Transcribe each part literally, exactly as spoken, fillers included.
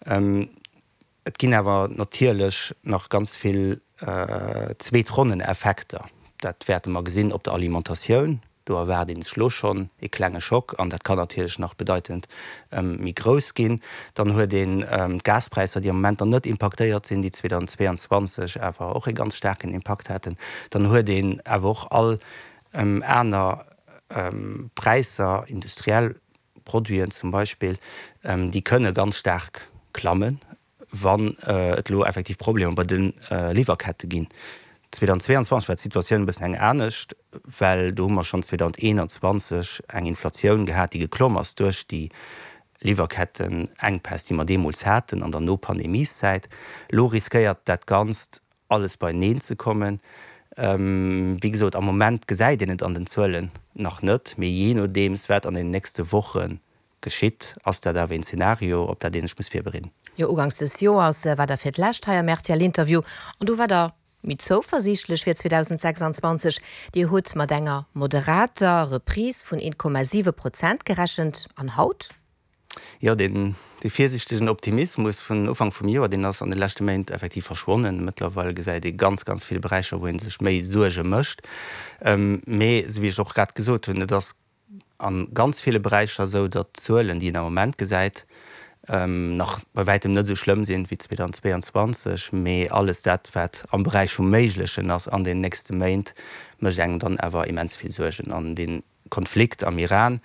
Et ginn awer natierlech nach ganz vill Zweetronneneffekter. Dat wäerte mer gesinn op der Alimentatioun. Do erwaart ee sech elo schonn ee klenge Schock an dat kann natierlech nach bedeitend méi grouss ginn. Dann huet een d'Gaspräisser, déi am Moment nach net impaktéiert sinn, déi zweedausendzweeanzwanzeg awer och ee ganz staarken Impakt haten. Dann huet een awer och all aner Präisser, industriell Produiten zum Beispill, déi kënne ganz staark klammen, wann et elo effektiv Problemer bei de Liwwerkette ginn. zweedausendzweeanzwanzeg war d'Situatioun e bëssen eng anescht, well do hu mer schonn zweedausendeeënanzwanzeg eng Inflatioun gehat, déi geklomm ass duerch déi Liwwerkettenenkpäss, déi mer deemools haten an der No-Pandemieszäit. Elo riskéiert dat Ganzt alles beieneen ze kommen. Wéi gesot, am Moment gesäit een et an den Zuelen nach net, mee jee nodeems wat an den nächste Woche geschitt, ass dat awer een Zenario, op dat een sech muss virbereeden. Jo, uganks des Joers war Der fir d'lescht hei am R T L-Interview an do war Der méi zouversiichtlech fir zweedausendsechsanzwanzeg. Dir hutt mat enger moderater Reprise vun een Komma siwe Prozent gerechent. An haut? Jo, deen virsiichtegen Optimismus vun Ufank vum Joer, deen ass an de leschte Méint effektiv verschwonnen. Mëttlerweil gesäit ee ganz, ganz vill Beräicher, wou ee sech méi Suerge mécht. Mee, esou wéi ech och grad gesot hunn, et ass a ganz ville Beräicher esou, datt d'Zuelen, déi een am Moment gesäit, nach bei wäitem net esou schlëmm sinn wéi zweedausendzweeanzwanzeg. Mee alles dat, wat am Beräich vum Méiglechen ass an den nächste Méint, mécht engem dann awer immens vill Suergen. An dee Konflikt am Iran,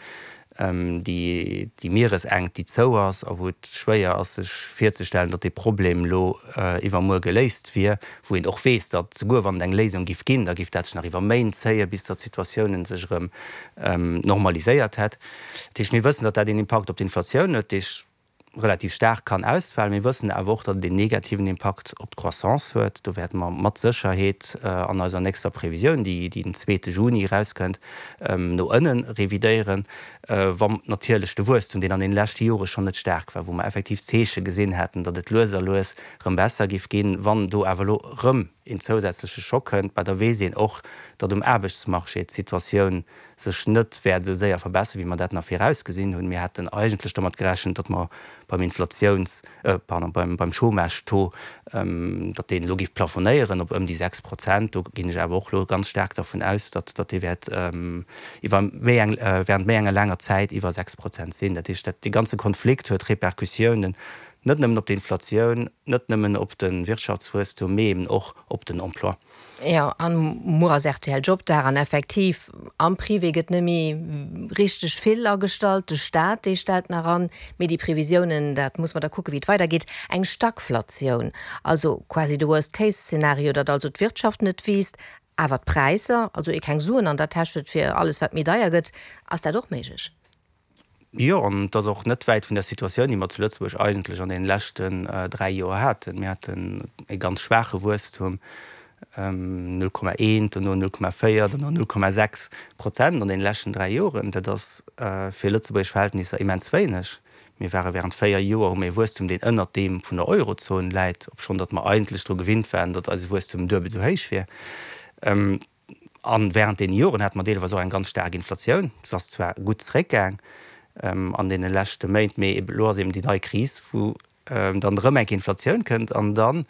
déi Mieresenkt, déi zou ass a wou et schwéier ass sech virzestellen, datt dee Problem elo iwwermuer geléist wier, wou een och weess, datt souguer wann et eng Léisung giff ginn, da giff dat sech nach iwwer Méint zéien, bis datt d'Situatioun sech erëm normaliséiert hätt. Dat heescht, mir wëssen, datt dat een Impakt op d'Inflatioun huet, dee relativ staark kann ausfalen. Mir wëssen awer och, datt et een negativen Impakt op d'Croissance huet. Do wäerte mer mat Sécherheet an eiser nächster Previsioun, déi den zweete Juni erauskënnt, no ënne revidéieren, wa natierlech de Wuesstum, deen an deene leschte Jore schonn net staark war, wou mer effektiv Zeeche gesinn haten, datt et lues a lues erëm besser géif ginn, wann do awer elo erëm een zousätzleche Schock kënnt, bah, da weess een och, datt um Aarbechtsmarché d'Situatioun sech net wäert esou séier verbessern, wéi mer dat nach virausgesinn hunn. Mir haten eigentlech domat gerechent, datt mer beim Inflatiouns-, pardon, beim, beim Chômage-Taux, datt deen elo géif plafonéieren op ëm déi sechs Prozent. Do ginn ech awer och elo ganz staark dervun aus, datt, datt dee wäert iwwer méi eng, während méi enger laanger Zäit iwwer sechs Prozent sinn. Dat heescht, dat, dee ganze Konflikt huet Repercussiounen net nëmmen op d'Inflatioun, net nëmmen op de Wirtschaftswuesstum, mee eben och op den Emploi. Jo, an muer ass R T L Jobdag an effektiv, am Privé gëtt net méi richteg vill agestallt, de Staat, dee stellt nach an, mee déi Previsiounen, dat muss mer da kucken, wéi et weidergeet. Eng Stagflatioun, also quasi de Worst-Case-Szenario, datt also d'Wirtschaft net wiisst, awer d'Präisser, also ee keng Suen an der Täsch huet fir alles, wat méi deier gëtt, ass dat och méiglech? Jo, an et ass och net wäit vun der Situatioun, déi mer zu Lëtzebuerg eigentlech an deene leschten dräi Joer haten. Mir haten e ganz schwaache Wuesstum, null Komma eent, dono null Komma véier, dono null Komma sechs Prozent an deene leschten dräi Joren. Dat ass fir lëtzebuergesch Verhältnisser immens wéineg. Mir ware während véier Joer, hu mir e Wuesstum, deen ënnert deem vun der Eurozon läit, obschonn datt mer eigentlech dru gewinnt waren, datt eise Wuesstum duebel esou héich wier. An während deene Joren hate mer deelweis och eng ganz staark Inflatioun. Se ass zwar gutt zeréckgaang an deene leschte Méint, mee elo ass eben déi nei Kris, wou dann erëm eng Inflatioun kënnt an dann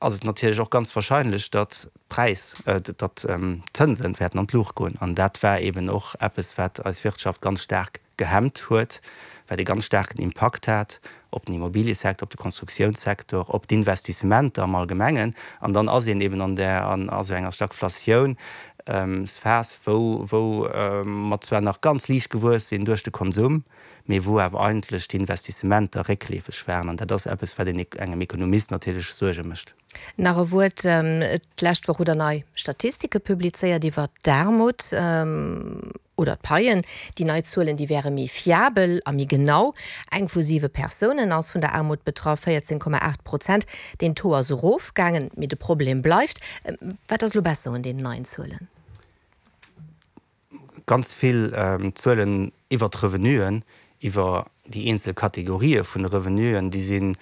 ass et natierlech och ganz wahrscheinlech, datt d'Präis, datt d'Zënsen wäerten an d'Luucht goen. An dat war eben och eppes, wat eis Wirtschaft ganz staark gehemmt huet, wat e ganz staarken Impakt hat op den Immobiliësecteur, op de Konstruktiounssecteur, op d'Investissementer am Allgemengen. An dann ass een eben an der, an esou enger Stagflatiounsphas, wou, wou mer zwar nach ganz liicht gewuess sinn duerch de Konsum, mee wou awer eigentlech d'Investissementer réckleefeg waren. An dat ass eppes, wat een engem Ekonomist natierlech Suerge mécht. Nach e Wuert, d'lescht Woch hutt Der nei Statistike publizéiert iwwer d'Aarmut oder d'Paien. Déi nei Zuelen, déi wäre méi fiabel a méi genau. Eng vu siwe Persounen ass vun der Aarmut betraff, véierzéng Komma aacht Prozent. Den Taux ass erofgaangen, mee de Problem bleift. Wat ass elo besser un deenen neien Zuelen? Ganz vill Zuelen iwwer d'Revenuen, iwwer déi eenzel Kategorië vun de Revenuen, déi sinn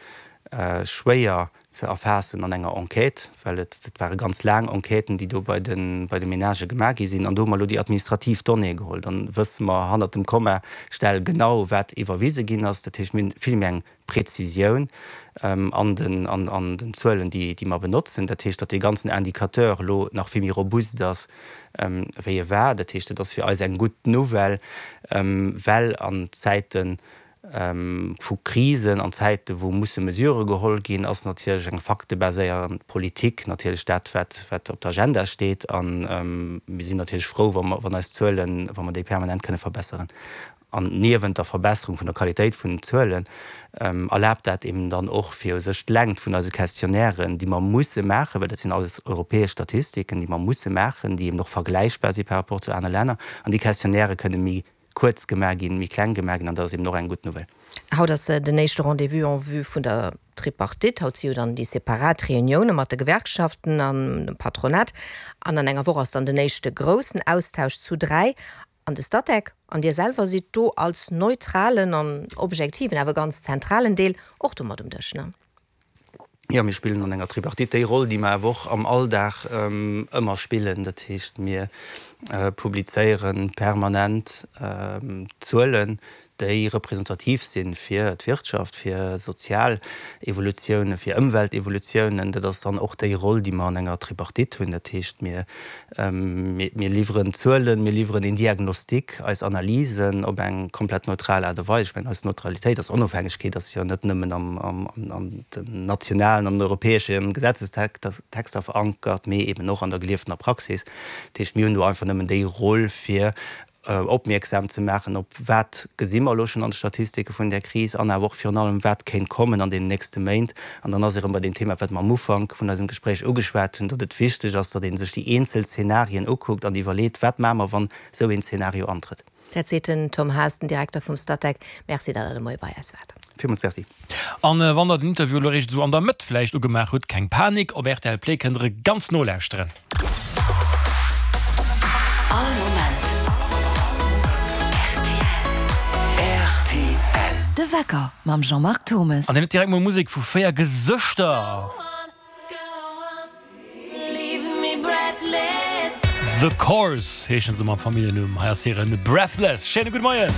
schwéier ze erfaassen an enger Enquête, well et dat ware ganz laang Enquêten, déi do bei de bei de Menagë gemaach gi sinn. An do hu mer elo déi administrativ Donnée geholl. Dann wësse mer hannert dem Komma-Stell genau, wat iwwerwise ginn ass. Dat heescht, mir hunn vill méi eng Präzisioun an den an den Zuelen, déi déi mer benotzen. Dat heescht, datt dee ganzen Indicateur elo nach vill méi robust ass, wéi e war. Dat heescht, et ass fir eis eng gutt Nouvelle, well an Zäite vu Krisen, an Zäite wou musse Mesurë geholl ginn, ass natierlech eng faktebaséierend Politik natierlech dat, wat wat op der Agenda steet. A mir sinn natierlech frou, wa mer wann eis Zuelen, wa mer déi permanent kënne verbesseren. An niewent der Verbesserung vun der Qualitéit vun den Zuelen erlaabt dat eben dann och, fir u sech d'Längt vun eise Questionnairen, déi mer musse maachen, well dat sinn alles europäesch Statistiken, déi mer musse maachen, déi eben och vergläichbar si par rapport zu anere Länner, an déi Questionnairë kënne méi kuerz gemaach ginn, méi kleng gemaach ginn, an dat ass eben och eng gutt Nouvelle. Haut ass den éischte Rendez-vous en vue vun der Tripartite. Haut si jo dann déi separat Reunioune mat de Gewerkschaften an dem Patronat. An an enger Woch ass dann den éischte groussen Austausch zu dräi. An de Statec an Dir selwer sidd do als neutralen an objektiven, awer ganz zentralen Deel och do mat um Dësch, ne? Jo, mir spillen an enger Tripartite déi Roll, déi mer awer och am Alldag ëmmer spillen. Dat heescht, mir publizéiere permanent Zuelen, déi representativ si fir d'Wirtschaft, fir sozial Evolutiounen, fir Ëmweltevolutiounen. Dat ass dann och déi Roll, déi mer an enger Tripartite hunn. Dat heescht, mir mir liwweren Zuelen, mir liwweren een Diagnostic, eis Analysen op eng komplett neutral Aart a Weis. Ech mengen, eis Neutralitéit, eis Onofhängegkeet ass jo net nëmmen am an den nationalen, an den europäesche Gesetzestexter verankert, mee eben och an der gelieftener Praxis. Dat heescht, mir hunn do einfach nëmmen déi Roll, fir opmierksam ze maachen op wat gesi mer elo schonn an de Statistike vun där Kris an awer och virun allem, wat kéint kommen an deenen nächste Méint. An dann ass ee rëm bei deem Thema, wat mer am Ufank vun eisem Gespréich ugeschwat hunn, datt et wichteg ass, datt ee sech déi eenzel Zenarien ukuckt an iwwerleet, wat maache mer, wann esou een Zenario antrëtt. Dat seet den Tom Haas, den Direkter vum Statec. Merci, datt Der de Moie bei eis waart. Villmools Merci. An wann der den Interview elo eréischt esou an der Mëtt vläicht ugemaach hutt, keng Panik, op rtl Play kënnt der e ganz nolauschteren. All Moment rtl. De Wecker mam Jean-Marc Thommes. An hien huet direkt mol Musek vu véier Gesëschter. The Corrs heeschen se mam Familljennumm. Hei ass hiren Breathless. Schéine gudde Moien.